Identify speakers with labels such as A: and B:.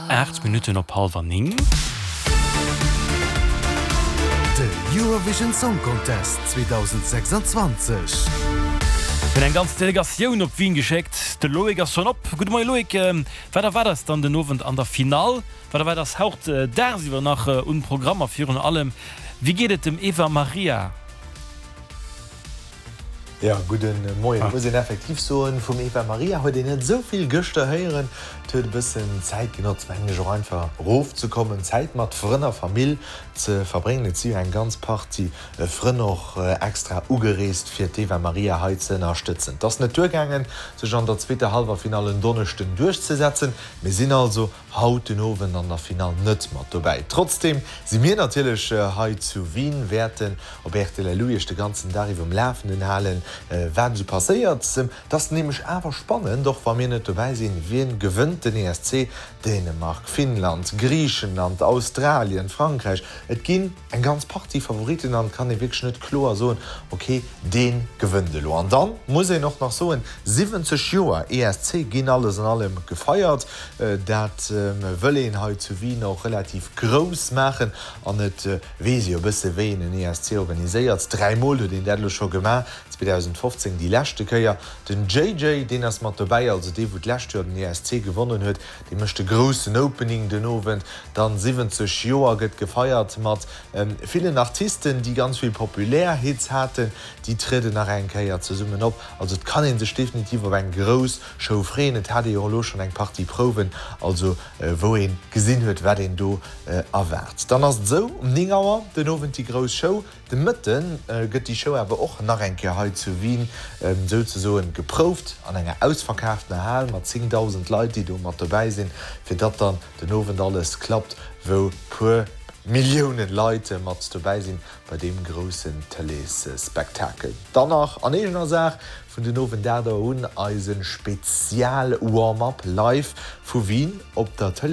A: 8 Minutten op hallwer 9.
B: De Eurovision Song Contest 2026.
A: Mir hunn eng ganz Delegatioun op Wien geschéckt. De Loïc ass schonn op. Gudde Moie Loïc, wat erwaart eis dann den Owend an der Finall? Wat erwaart eis haut dagsiwwer nach un Programm a virun allem, wéi geet et dem Eva Maria?
C: Jo, gudde Moien. Et muss een effektiv soen, vum Eva Maria huet een net esou vill gëschter héieren. Et huet e bëssen Zäit genotzt, mengen ech, och einfach erofzekommen, Zäit mat Frënn a Famill ze verbréngen. Et si jo eng ganz Partie Frënn och extra ugereest, fir d'Eva Maria hei ze ënnerstëtzen. Et ass net duergaangen, sech an der zweeter Hallwerfinall en Donneschden duerchzesetzen. Mir sinn also haut den Owend an der Finall net mat dobäi. Trotzdeem si mir natierlech hei zu Wien, wäerten op rtl elo iech de ganzen Dag iwwer um Lafenden halen, wat esou passéiert. Et ass nämlech awer spannend, och wa mir net dobäi sinn, wien gewënnt den ESC? Dänemark, Finnland, Griichenland, Australien, Frankräich, et ginn eng ganz Partie Favoritten an et kann ee wierklech net kloer soen, ok dee gewënnt elo. An dann muss een och nach soen, 70 Joer ESC ginn alles an allem gefeiert. Dat wëll een hei zu Wien och relativ grouss maachen an et weess ee jo e bësse wéi een en ESC organiséiert. Dräimol huet een dat elo scho gemaach, 2015 déi leschte Kéier. Den JJ deen ass mat dobäi, also dee wou d'lescht Joer den ESC gewonnen huet, dee mécht de groussen Opening den Owend. Dann 70 Joer gëtt gefeiert mat villen Artisten, déi ganz vill populär Hits haten. Déi trieden nach eng Kéier zesummen op. Also et kann ee sech definitiv op eng grouss Show freeën. Et hat ee jo och elo schonn eng Partie Prouwen, also wou ee gesinn huet, wat een do erwaart. Dann ass et esou, um 9 Auer den Owend déi grouss Show. De Mëtte gëtt déi Show awer och nach eng Kéier hei zu Wien souzesoen geprouft, an enger ausverkaaftener Hal mat 10.000 Leit, déi do mat dobäi sinn, fir datt dann den Owend alles klappt, wou puer Milliounen Leit mat dobäi sinn bei deem groussen Tëleesspektakel. Dann nach an eegener Saach, vun den Owend 8 Auer un eise Spezial-Warm-Up live vu Wien op der Tëlee.